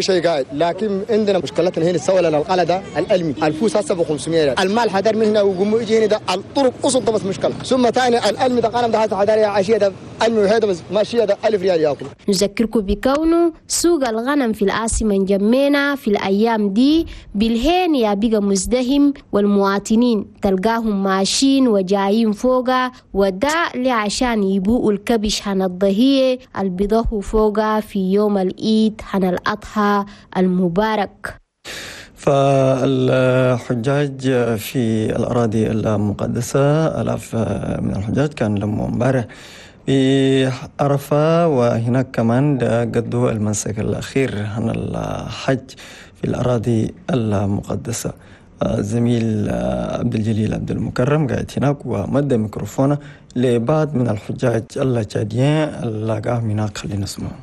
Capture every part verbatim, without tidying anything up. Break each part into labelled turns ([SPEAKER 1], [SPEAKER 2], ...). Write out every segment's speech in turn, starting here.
[SPEAKER 1] شيء قاعد، لكن عندنا مشكلتنا هنا السولة الغلا ده الألمي الفوس هسه ب خمسمية ريال، المال حدر من هنا وقوم يجي هنا ده الطرق أصل ده بس مشكلة، ثم ثاني الألمي ده قلم ده هسه حدر يا عشية ده ألمي وهذا بس ماشية ده ألف ريال ياكل.
[SPEAKER 2] نذكركم بكونه سوق الغنم في العاصمة نجمينا في الأيام دي بالهين يا بقى مزدهم، والمواطنين تلقاهم ماشيين وجايين فوقا، وده لعشان يبوء الكبش هن الضهية البيضه فوقا في يوم العيد هن الأضحى المبارك.
[SPEAKER 3] فالحجاج في الأراضي المقدسة آلاف من الحجاج كان لما امبارح في عرفة، وهناك كمان قدوا المنسك الأخير عن الحج في الأراضي المقدسة. الزميل عبد الجليل عبد المكرم قاعد هناك ومد ميكروفونه لبعض من الحجاج التشاديين اللي قاعد هناك، خلينا نسمعهم.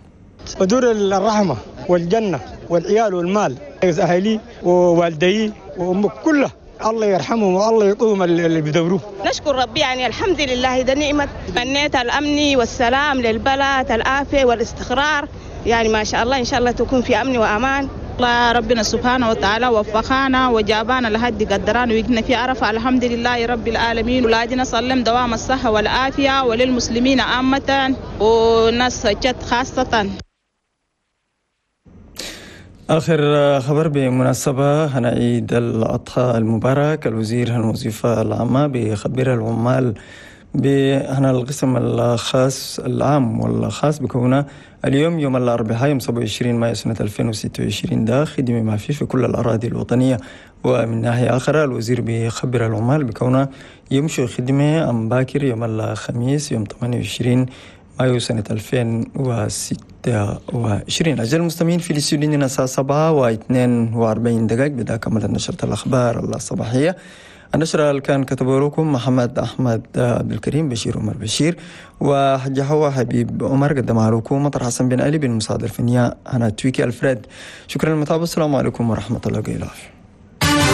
[SPEAKER 4] بدور الرحمة والجنة والعيال والمال، أهلي ووالدي وأمك كلها الله يرحمهم والله يقوم اللي بدوروه.
[SPEAKER 5] نشكر ربي يعني الحمد لله، ده نعمة تمنيت الأمن والسلام للبلد، العافية والاستقرار، يعني ما شاء الله إن شاء الله تكون في أمن وأمان.
[SPEAKER 6] الله ربنا سبحانه وتعالى وفقنا وجابانا لحد قدران وقنا في عرفة، الحمد لله رب العالمين. ولادنا سلم دوام الصحة والعافية وللمسلمين عامة وناس جد خاصة.
[SPEAKER 3] آخر خبر بمناسبة هنا عيد الأضحى المبارك، الوزير الوظيفة العامة بخبر العمال بهنا القسم الخاص العام والخاص بكونه اليوم يوم الأربعاء يوم سبعة وعشرين مايو سنة ألفين وستة وعشرين ده خدمة ما فيه في كل الأراضي الوطنية. ومن ناحية أخرى الوزير بيخبر العمال بكونه يمشوا خدمة أم باكر يوم الخميس يوم ثمانية وعشرين مايو سنة ألفين وستة وعشرين. أعزائي المستمعين في الاستوديو الساعة سبعة واثنين وأربعين دقائق بدأ كمل نشرة الأخبار الصباحية. النشرة اللي كان كتبه لكم محمد أحمد عبد الكريم، بشير عمر بشير، وحجة حوا حبيب عمر، قدمها لكم مطر حسن بن علي بالمساعدة الفنية أنا تويكي ألفريد. شكرا للمتابعة، السلام عليكم ورحمة الله وبركاته.